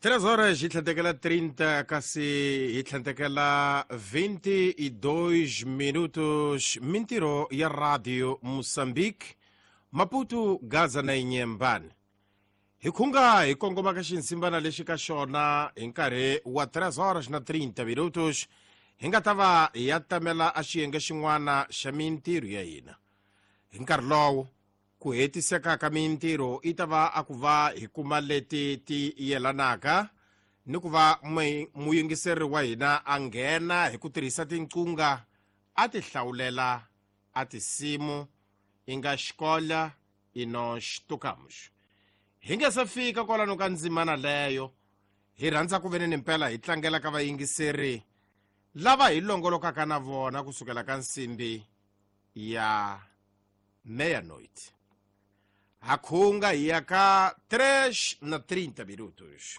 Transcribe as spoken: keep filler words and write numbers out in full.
Três horas hi tlhandlekela trinta kasi hi tlhandlekela vinte e dois minutos. Mintirho ya Radio Moçambique, Maputo, Gaza na Inhambane. Hi khunga hi kongoma ka xinsimbana lexi ka xona hi nkarhi wa três horas na trinta minutos hi nga ta va hi ya tamela a xiyenge xin'wana xa mintirho ya hina. Hi nkarhi lowo ku hetiseka ka mintirho i ta va a ku va hi kuma leti ti yelanaka ni ku va muyingiseri wa hina a nghena hi ku tirhisa tinqunga a ti hlawulela a tinsimu i nga xikola i nós tocamos. Hi nga se fika kwalano ka ndzimana leyo hi rhandza ku ve ni mpela hi tlangela ka vayingiseri lava hi longolokaka na vona kusukela ka nsimbi ya meia-noite. Ha khunga hi ya ka três na trinta minutos.